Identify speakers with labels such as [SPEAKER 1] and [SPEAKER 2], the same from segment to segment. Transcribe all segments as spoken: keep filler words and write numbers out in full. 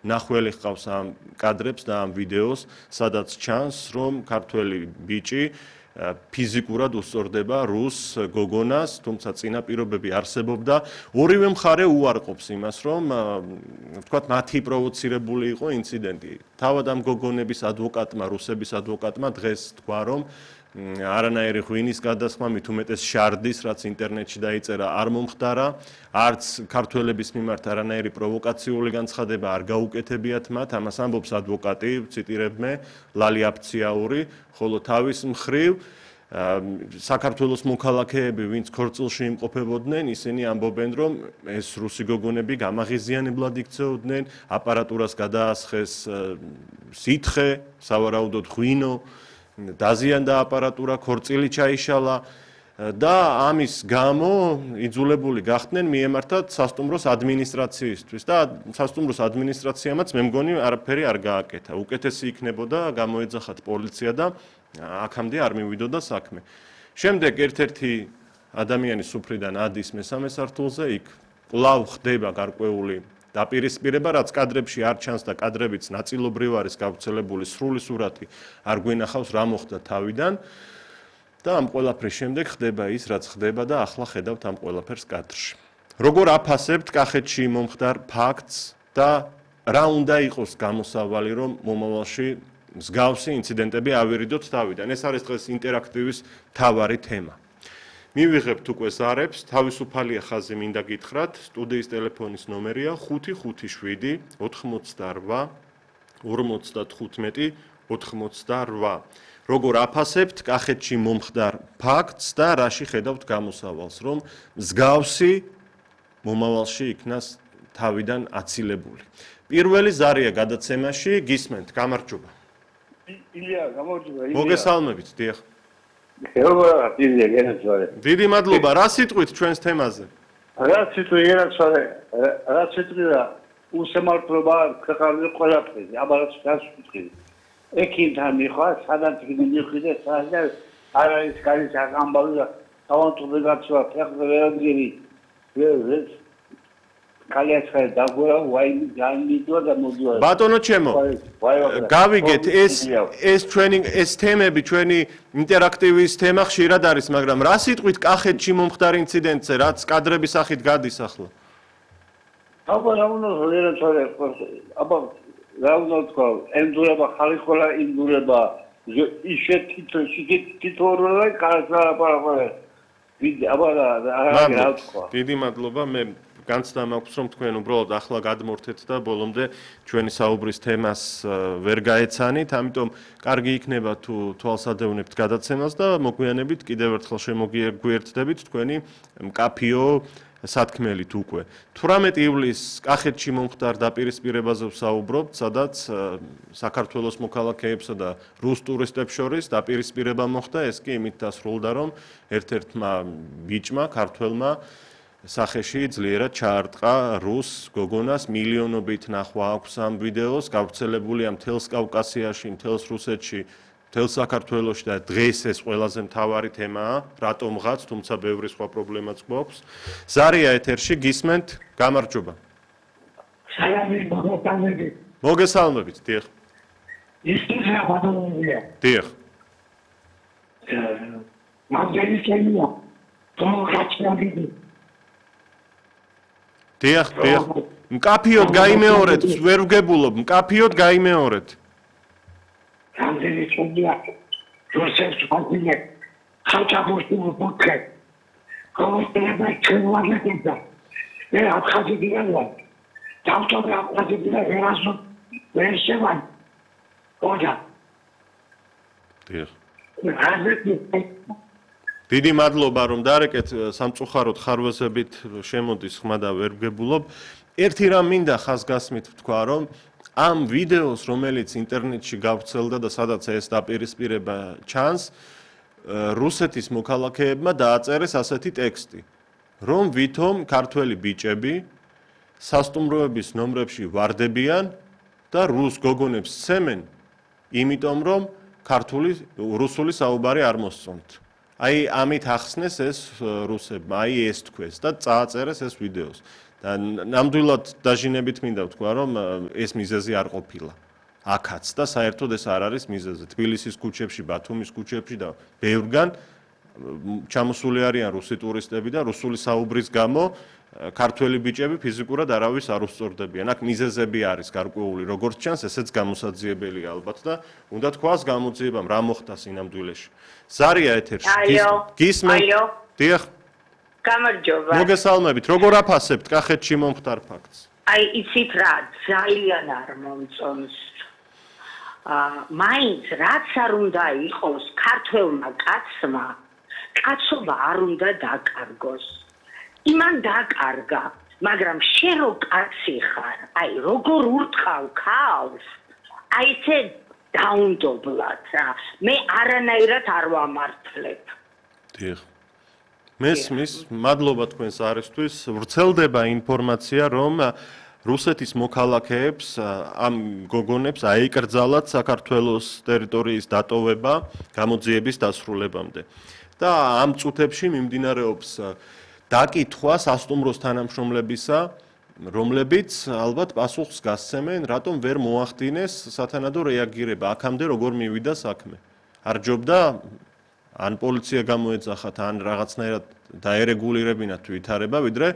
[SPEAKER 1] ნახველი ჰყავს ამ კადრებს და ამ ვიდეოს, სადაც ჩანს, რომ ქართველი ბიჭი ფიზიკურად უსწორდება რუს გოგონას, თუმცა წინაპირობები არსებობდა. ორივე მხარე უარყოფს იმას, რომ ვთქვათ, მათი პროვოცირებული იყო ინციდენტი. თავად ამ გოგონების ადვოკატმა, რუსების ადვოკატმა დღეს თქვა, რომ არანაირი ღვინის გადასხმა, მით უმეტეს შარდის, რაც ინტერნეტში დაიწერა, არ მომხდარა, არც ქართველების მიმართ არანაირი პროვოკაციული განცხადება არ გაუკეთებიათ მათ, ამას ამბობს ადვოკატი, ვციტირებმე, ლალი აფციაური, ხოლო თავის მხრივ საქართველოს მოქალაქეები, ვინც ქორწილში იმყოფებოდნენ, ისინი ამბობენ, რომ ეს რუსი გოგონები გამაღიზიანებლად იქცეოდნენ, აპარატურას გადაასხეს სითხე, სავარაუდოდ ღვინო, დაზიანდა აპარატურა, ქორწილი ჩაიშალა და ამის გამო იძულებული გახდნენ მიემართათ სასტუმროს ადმინისტრაციისთვის და სასტუმროს ადმინისტრაციამაც მე მგონი არაფერი არ გააკეთა. უკეთესი იქნებოდა გამოეძახათ პოლიცია და აქამდე არ მივიდოდა საქმე. შემდეგ ერთ-ერთი ადამიანი სუფრიდან ადის მესამე სართულზე, იქ კვლავ ხდება გარკვეული დაპირისპირება, რაც კადრებში არ ჩანს და კადრებიც ნაწილობრივ არის გავრცელებული, სრული სურათი არ გვინახავს რა მოხდა თავიდან და ამ ყველაფრის შემდეგ ხდება ის, რაც ხდება და ახლა ხედავთ ამ ყველაფერს კადრში. როგორ აფასებთ კახეთში მომხდარ ფაქტს და რა უნდა იყოს გამოსავალი, რომ მომავალში მსგავსი ინციდენტები ავირიდოთ თავიდან. ეს არის დღეს ინტერაქტივის მთავარი თემა. მივიღებთ უკვე ზარებს, თავისუფალია ხაზი მინდა გითხრათ, სტუდიის ტელეფონის ნომერია ხუთი ხუთი შვიდი ოთხმოცდარვა ორმოცდათხუთმეტი ოთხმოცდარვა. როგორ აფასებთ კახეთში მომხდარ ფაქტს და რაში ხედავთ გამოსავალს, რომ მსგავსი მომავალში იქნას თავიდან აცილებული. პირველი ზარია გადაცემაში, გისმენთ, გამარჯობა.
[SPEAKER 2] ილია, გამარჯობა.
[SPEAKER 1] მოგესალმებით, დიახ. დიდი მადლობა, რა სიტყვით ჩვენს თემაზე?
[SPEAKER 2] რა სიტყვი ერაქსარე, რა სიტყვი უსამართლობა ქვეყანაზე ყველაფერზე, აბარაც გასვიტყვი. ეკინთან მიხვა, სადაც მივხვიდე, სადაც არ არის კარის ამბავი და თავანტული გაცვა, ფეხზე ვერადგინი. ეს კალიაცხარი დაგვერა, ვაიმი განმიდვა და მოდივა.
[SPEAKER 1] ბატონო ჩემო, გავიგეთ, ეს ეს ჩვენი ეს თემები, ჩვენი ინტერაქტივის თემა ხშირად არის, მაგრამ რა სიტყვით კახეთში მომხდარ ინციდენტზე, რაც კადრების სახით გადის ახლა?
[SPEAKER 2] აბა რა უნდა ვერაცარე, აბა რა უნდა თქვა, ენდურება ხალხოლა ინდურება, ისე თითო თითო როლა კარსა პარაპარა. ვიდე აბა რა რა თქვა.
[SPEAKER 1] დიდი მადლობა, მე განცდა მაქვს, რომ თქვენ უბრალოდ ახლა გადმორთეთ და ბოლომდე ჩვენი საუბრის თემას ვერ გაეცანით, ამიტომ კარგი იქნება თუ თვალსადევნებთ გადაცემას და მოგვიანებით კიდევ ერთხელ შემოგვიერთდებით თქვენი მკაფიო სათქმელით უკვე. თვრამეტი ივლისს კახეთში მომხდარ დაპირისპირებაზე ვსაუბრობთ, სადაც საქართველოს მოქალაქეებსა და რუს ტურისტებს შორის დაპირისპირება მოხდა, ეს კი იმით დასრულდა, რომ ერთ-ერთმა ბიჭმა, ქართველმა სახეში ძლიერად ჩაარტყა რუს გოგონას, მილიონობით ნახვა აქვს ამ ვიდეოს, გავრცელებულია მთელს კავკასიაში, მთელს რუსეთში, მთელ საქართველოში და დღეს ეს ყველაზე მთავარი თემაა, რატომღაც, თუმცა ბევრი სხვა პრობლემაც გვაქვს. ზარია ეთერში, გისმენთ, გამარჯობა.
[SPEAKER 3] სალამი მოგესალმებით.
[SPEAKER 1] მოგესალმებით, დიახ.
[SPEAKER 3] ისწრაფა ბატონია.
[SPEAKER 1] დიახ.
[SPEAKER 3] მაგარი შემია. თორხაჩნაბიდი.
[SPEAKER 1] დიახ, დიახ. მკაფიოდ გაიმეორეთ, ვერ ვგებულობ, მკაფიოდ გაიმეორეთ.
[SPEAKER 3] რამდენი წუთია რუსეთს ვაგინე ხალხაბოსი მოკე კომიტეტა ჩვენვაგებდა მე აფხაზებია დავწოდე აფხაზებია ერასო ვერშევან ოჯა
[SPEAKER 1] დიახ დიდი მადლობა რომ დარეკეთ სამწუხაროდ ხარვეზებით შემოდის ხმა და ვერ ვგებულობ ერთი რამ მინდა ხაზგასმით ვთქვა რომ ამ ვიდეოს, რომელიც ინტერნეტში გავრცელდა და სადაც ეს დაპირისპირება ჩანს, რუსეთის მოქალაქეებმა დააწერეს ასეთი ტექსტი, რომ ვითომ ქართველი ბიჭები სასტუმროების ნომრებში ვარდებიან და რუს გოგონებს სცემენ, იმიტომ რომ ქართული რუსული საუბარი არ მოსწონთ. აი ამით ახსნეს ეს რუსებმა, აი ეს თქვეს და წააწერეს ეს ვიდეოს. და ნამდვილად დაჟინებით მინდა ვთქვა, რომ ეს მიზეზი არ ყოფილა. აქაც და საერთოდ ეს არ არის მიზეზი. თბილისის ქუჩებში, ბათუმის ქუჩებში და ბევრგან ჩამოსული არიან რუსი ტურისტები და რუსული საუბრის გამო ქართველი ბიჭები ფიზიკურად არავის არ უსწორდებიან. აქ მიზეზები არის გარკვეული, როგორც ჩანს, ესეც გამოსაძიებელია ალბათ და უნდა თქვას გამოძიებამ რა მოხდა სინამდვილეში. ზარია ეთერში. გისმენთ? დიახ.
[SPEAKER 4] გამარჯობა.
[SPEAKER 1] მოგესალმებით. როგორ აფასებთ კახეთში მომხდარ ფაქტს?
[SPEAKER 4] აი, იცით რა, ძალიან არ მომწონს. აა, მაინც რაც არ უნდა იყოს ქართველმა კაცმა, კაცობა არ უნდა დაკარგოს. იმან დაკარგა, მაგრამ შენ რო კაცი ხარ, აი, როგორ ურტყავ ქავს, აი ესე დაუნდობლად რა. მე არანაირად არ ვამართლებ.
[SPEAKER 1] დიახ. მესმის, მადლობა თქვენს არისთვის. ვრცელდება ინფორმაცია, რომ რუსეთის მოქალაქეებს ამ გოგონებს აიკრძალათ საქართველოს ტერიტორიის დატოვება გამოძიების დასრულებამდე. და ამ წუთებში მიმდინარეობს დაკითხვა სასტუმროს თანამშრომლებისა, რომლებიც ალბათ პასუხს გასცემენ, რატომ ვერ მოახდინეს სათანადო რეაგირება, აქამდე როგორ მივიდა საქმე. არ ჯობდა ან პოლიცია გამოეძახათ, ან რაღაცნაირად დაერეგულირებინათ ვითარება, ვიდრე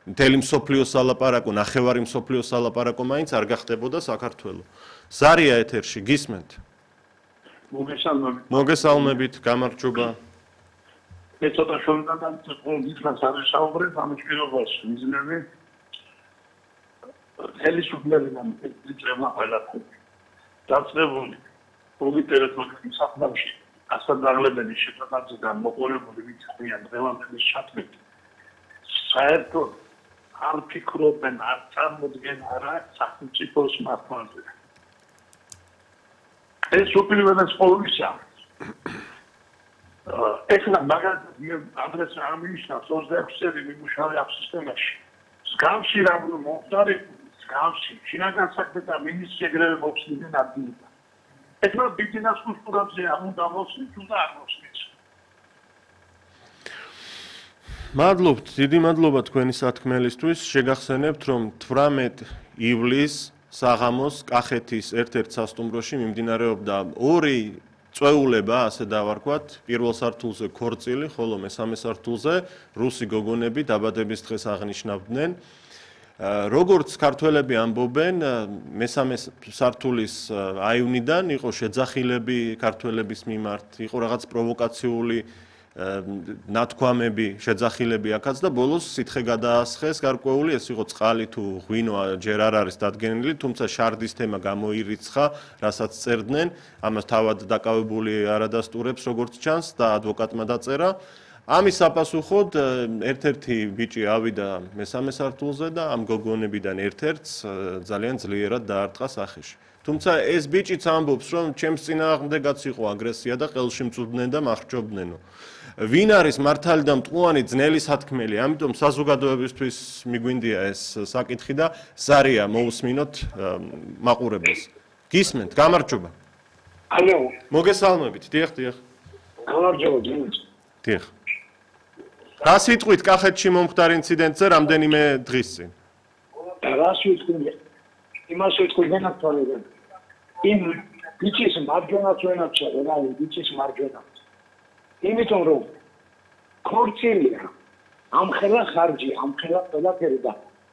[SPEAKER 1] მთელი მსოფლიოს სალაპარაკო, ნახევარი მსოფლიოს სალაპარაკო მაინც არ გახდებოდა საქართველო. ზარია ეთერში, გისმენთ?
[SPEAKER 2] მოგესალმებით.
[SPEAKER 1] მოგესალმებით, გამარჯობა.
[SPEAKER 2] მე ცოტა შორიდან გითხრას არ ვისაუბრებ ამის პირობას მიზნები. ხელისუფლებიდან ეწევა ყველაფერი. დაწნებული პროვინციის საკუთრებაში ასადაღლებელი შეფასებიდან მოყოლებული ვიციან დღევანდელი ჩათვლით. საერთოდ არ ფიქრობენ, არ წარმოდგენ არა სახელმწიფოს მართლაზე. ეს უპირველეს ყოვლისა ეხლა მაგალითად ადრესა ამინიშნავს ოცდაექვსი წელი მიმუშავე ამ სისტემაში. მსგავსი რა მომხდარი, მსგავსი შინაგან საქმეთა მინისტრი ეგრევე მოხსნიდან ადგილიდან. ეხლა ბიზნეს კულტურაზე არ უნდა მოსვით, თუ და არ მოსვით.
[SPEAKER 1] მადლობთ, დიდი მადლობა თქვენი სათქმელისთვის. შეგახსენებთ, რომ თვრამეტ ივლისს საღამოს კახეთის ერთ-ერთ სასტუმროში მიმდინარეობდა ორი წვეულება, ასე დავარქვათ, პირველ სართულზე ქორწილი, ხოლო მესამე სართულზე რუსი გოგონები დაბადების დღეს აღნიშნავდნენ. როგორც ქართველები ამბობენ, მესამე სართულის აივნიდან იყო შეძახილები ქართველების მიმართ, იყო რაღაც პროვოკაციული ნათქვამები, შეძახილები აქაც და ბოლოს სითხე გადაასხეს გარკვეული, ეს იყო წყალი თუ ღვინო ჯერ არ არის დადგენილი, თუმცა შარდის თემა გამოირიცხა, რასაც წერდნენ, ამას თავად დაკავებული არადასტურებს როგორც ჩანს და ადვოკატმა დაწერა. ამის საპასუხოდ ერთ-ერთი ბიჭი ავიდა მესამე სართულზე და ამ გოგონებიდან ერთ-ერთს ძალიან ძლიერად დაარტყა სახეში. თუმცა ეს ბიჭიც ამბობს, რომ ჩემს წინააღმდეგაც იყო აგრესია და ყელში მწვდდნენ და მახრჩობდნენო. ვინ არის მართალი და მტყუანი ძნელი სათქმელი, ამიტომ საზოგადოებისთვის მიგვინდია ეს საკითხი და ზარია მოусმინოთ მაყურებელს. გისმენთ, გამარჯობა.
[SPEAKER 3] ალო.
[SPEAKER 1] მოგესალმებით, დიახ, დიახ.
[SPEAKER 3] გამარჯობა, დიახ.
[SPEAKER 1] დიახ. რა სიტყვით კახეთში მომხდარ ინციდენტზე რამდენიმე დღის წინ?
[SPEAKER 3] რა სიტყვით? იმას ვიტყვი განათვალებენ. იმ ბიჭის მარჯვენაც ვენაჩა, რა ბიჭის მარჯვენაც. იმიტომ რომ ქორწილია, ამხელა ხარჯი, ამხელა ყველაფერი და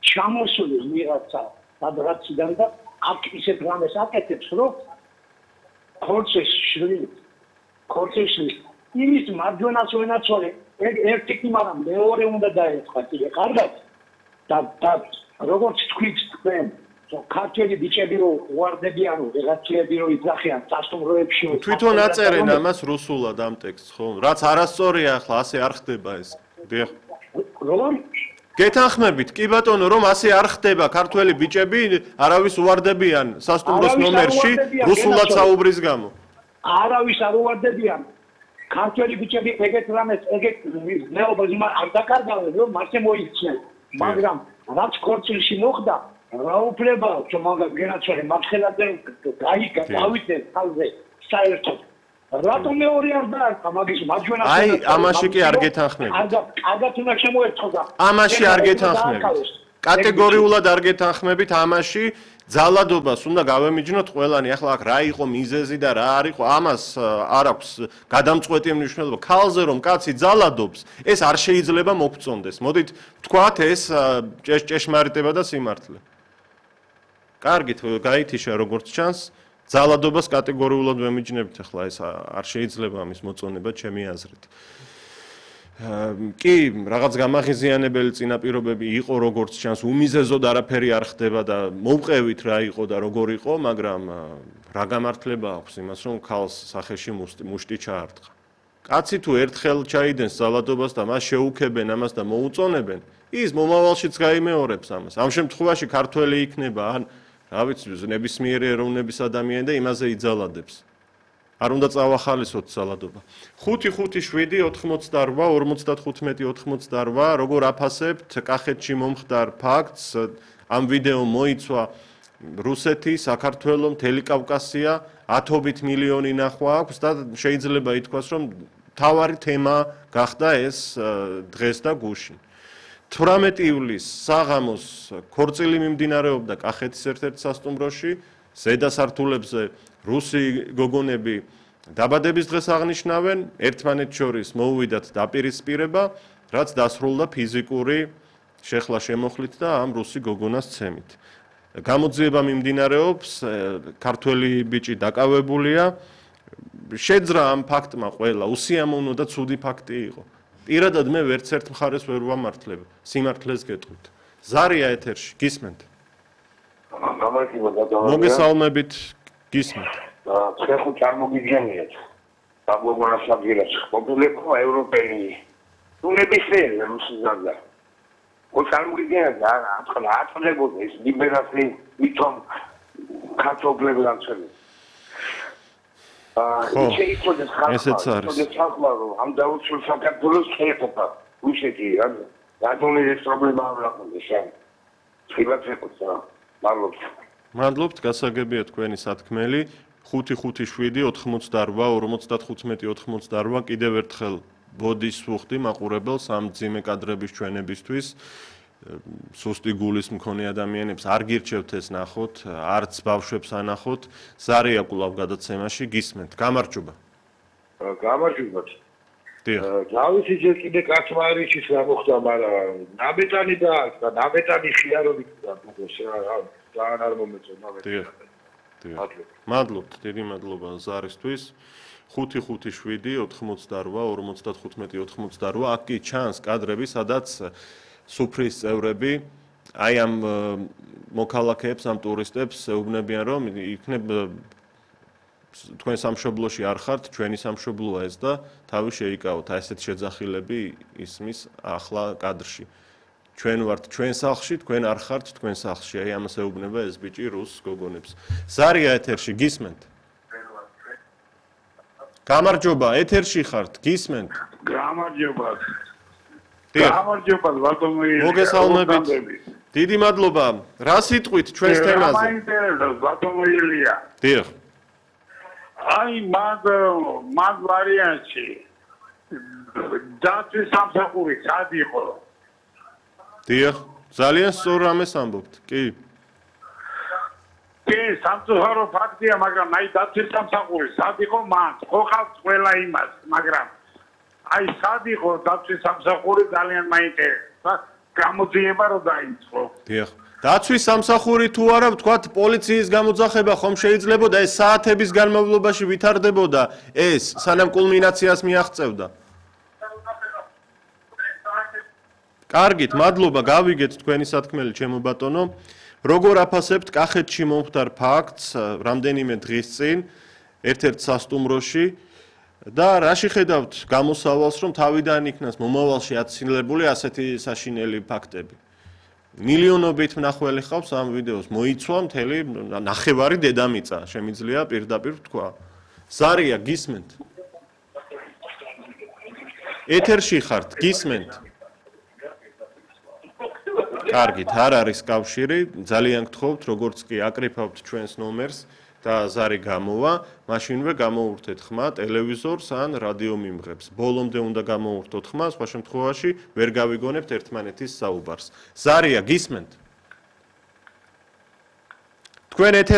[SPEAKER 3] ჩამოსული ვიღაცა სადღაციდან და აქ ისეთ რამეს აკეთებს, რომ ქორწის შვილი, ქორწის შვილი, იმის მარჯვენაც ვენაცვალე, ერთი კი მაგრამ მეორე უნდა დაეწყო, კიდე კარგად და და როგორც თქვით თქვენ ქართველი ბიჭები რო უარდებიან, ვიღაცები რო იძახიან სასტუმროებში.
[SPEAKER 1] თვითონ აწერენ ამას რუსულად ამ ტექსტს, ხო? რაც არასწორია ახლა, ასე არ ხდება ეს. დიახ.
[SPEAKER 3] როგორ?
[SPEAKER 1] გეთანხმებით, კი ბატონო, რომ ასე არ ხდება, ქართველი ბიჭები არავის უარდებიან სასტუმროს ნომერში რუსულად საუბრის გამო.
[SPEAKER 3] არავის არ უარდებიან. ქართველი ბიჭები ეგეთ რამეს, ეგეთ მეუბნებს არ დაკარგავენ, რომ მასე მოიქცნენ. მაგრამ რაც ქორწილში მოხდა რა უფლება ჩომაგა გენაცვალე მარხელადე გაიგა დავიდნენ თავზე საერთოდ რატომ მეორე არ დაარქვა მაგის მარჯვენა
[SPEAKER 1] აი ამაში კი არ გეთანხმებით
[SPEAKER 3] კარგად კარგად უნდა შემოერთხო და
[SPEAKER 1] ამაში არ გეთანხმებით კატეგორიულად არ გეთანხმებით ამაში ძალადობას უნდა გავემიჯნოთ ყველანი. ახლა აქ რა იყო მიზეზი და რა არ იყო, ამას არ აქვს გადამწყვეტი მნიშვნელობა. ქალზე რომ კაცი ძალადობს, ეს არ შეიძლება მოგწონდეს. მოდით ვთქვათ, ეს ჭეშმარიტება და სიმართლე. კარგით, გაითიშა როგორც ჩანს, ძალადობას კატეგორიულად ვემიჯნებით, ახლა ეს არ შეიძლება ამის მოწონება ჩემი აზრით. კი, რაღაც გამაღიზიანებელი წინაპირობები იყო, როგორც ჩანს, უმიზეზოდ არაფერი არ ხდება და მოვყევით რა იყო და როგორ იყო, მაგრამ რა გამართლება აქვს იმას, რომ ქალს სახეში მუშტი ჩაარტყა. კაცი თუ ერთხელ ჩაიდენს ძალადობას და მას შეუქებენ ამას და მოუწონებენ, ის მომავალშიც გაიმეორებს ამას. ამ შემთხვევაში ქართველი იქნება, ან რა ვიცი, ნებისმიერი ეროვნების ადამიანი და იმაზე იძალადებს. არ უნდა წავახალისოთ ძალადობა. ხუთი ხუთი შვიდი ოთხმოცდაორვა ორმოცდათხუთმეტი ოთხმოცდაორვა როგორ აფასებთ კახეთში მომხდარ ფაქტს? ამ ვიდეო მოიცვა რუსეთი, საქართველო, მთელი კავკასია, ათობით მილიონი ნახვა აქვს და შეიძლება ითქვას, რომ მთავარი თემა გახდა ეს დღეს და გუშინ. თვრამეტი ივლისს საღამოს ქორწილი მიმდინარეობდა კახეთის ერთ-ერთ სასტუმროში, ზედა სართულებზე რუსი გოგონები დაბადების დღეს აღნიშნავენ, ერთმანეთს შორის მოუვიდათ დაპირისპირება, რაც დასრულდა ფიზიკური შეხლა შემოხლით და ამ რუსი გოგონას ცემით. გამოძიება მიმდინარეობს, ქართველი ბიჭი დაკავებულია, შეძრა ამ ფაქტმა ყველა, უსიამოვნო და ცუდი ფაქტი იყო. პირადად მე ვერც ერთ მხარეს ვერ ვამართლებ, სიმართლეს გეტყვით. ზარია ეთერში, გისმენთ? მოგესალმებით, გისმენთ.
[SPEAKER 5] ხეხო წარმოგიდგენიათ. დაგგვანას ადგილას ყოფილიყო ევროპელი. თუ ნებისმიერი რუსიზანდა. ო წარმოგიდგენიათ რა ახლა აწლებოდა ეს ლიბერალი მithom ქართობლებს განცემენ. აა შეიძლება
[SPEAKER 1] ესეც არის.
[SPEAKER 5] ხალხმა რომ ამ დაუცილ საქართველოს შეეხება უშეთი რა რატომ ეს პრობლემა არ აქვს შენ. ხილათეკოს რა. მადლობთ.
[SPEAKER 1] მადლობთ, გასაგებია თქვენი სათქმელი. ხუთი ხუთი შვიდი ოთხმოცდაორვა ორმოცდათხუთმეტი ოთხმოცდაორვა კიდევ ერთხელ ბოდის ვუხდი მაყურებელს ამ ძიმე კადრების ჩვენებისთვის. სუსტი გულის მქონე ადამიანებს არ გირჩევთ ეს ნახოთ, არც ბავშვებს ანახოთ. ზარია კვლავ გადაცემაში გისმენთ. გამარჯობა.
[SPEAKER 5] გამარჯობა.
[SPEAKER 1] დიახ.
[SPEAKER 5] დავიცი ჯერ კიდე კაცმარიშის რა მოხდა, მაგრამ ნაბეტანი და ნაბეტანი ხიარობით და რა ძალიან არ მომეწონა მე.
[SPEAKER 1] მადლობთ, დიდი მადლობა ზარისთვის. ხუთი ხუთი შვიდი ოთხმოცდაორვა ორმოცდათხუთმეტი ოთხმოცდაორვა აქ კი ჩანს კადრები, სადაც სუფრის წევრები აი ამ მოქალაქეებს, ამ ტურისტებს ეუბნებიან, რომ იქნებ თქვენ სამშობლოში არ ხართ, ჩვენი სამშობლოა ეს და თავი შეიკავოთ. აი ესეთ შეძახილები ისმის ახლა კადრში. ჩვენ ვართ ჩვენ სახლში, თქვენ არ ხართ თქვენ სახლში. აი ამას ეუბნება ეს ბიჭი რუს გოგონებს. ზარია ეთერში, გისმენთ? გამარჯობა, ეთერში ხართ, გისმენთ?
[SPEAKER 2] გამარჯობა.
[SPEAKER 1] გამარჯობა, მოგესალმებით. დიდი მადლობა. რა სიტყვით ჩვენს თემაზე?
[SPEAKER 2] მაინტერესებს ბატონოელია.
[SPEAKER 1] დიახ.
[SPEAKER 2] აი მაგ მაგ ვარიანტში დაცვის სამსახური სად იყო?
[SPEAKER 1] დიახ, ძალიან სწორ რამეს ამბობთ, კი.
[SPEAKER 2] კი, სამწუხარო ფაქტია, მაგრამ აი დაცვის სამსახური სად იყო მან? ხო ხალხს ყველა იმას, მაგრამ აი სად იყო დაცვის სამსახური ძალიან მაინტერესებს. გამოძიება რო დაიწყო.
[SPEAKER 1] დიახ. დაცვის სამსახური თუ არა, ვთქვათ, პოლიციის გამოძახება ხომ შეიძლებოდა ეს საათების განმავლობაში ვითარდებოდა ეს, სანამ კულმინაციას მიაღწევდა. კარგით, მადლობა, გავიგეთ თქვენი სათქმელი, ჩემო ბატონო. როგორ აფასებთ კახეთში მომხდარ ფაქტს, რამდენიმე დღის წინ, ერთ-ერთ სასტუმროში და რა შეხედავთ გამოსავალს, რომ თავიდან იქნას მომავალში აცილებული ასეთი საშინელი ფაქტები? მილიონობით მნახველი ხავს ამ ვიდეოს, მოიცვა მთელი ნახევარი დედამიწა, შემიძლია პირდაპირ ვთქვა. ზარია, გისმენთ? ეთერში ხართ, გისმენთ? კარგით, არ არის კავშირი, ძალიან გთხოვთ, როგორც კი აკრიფავთ ჩვენს ნომერს, და ზარი გამოვა, მაშინვე გამოურთეთ ხმა ტელევიზორს ან რადიო მიმღებს. ბოლომდე უნდა გამოურთოთ ხმა, სხვა შემთხვევაში ვერ გავიგონებთ ერთმანეთის საუბარს. ზარია, გისმენთ? თქვენ ეთერ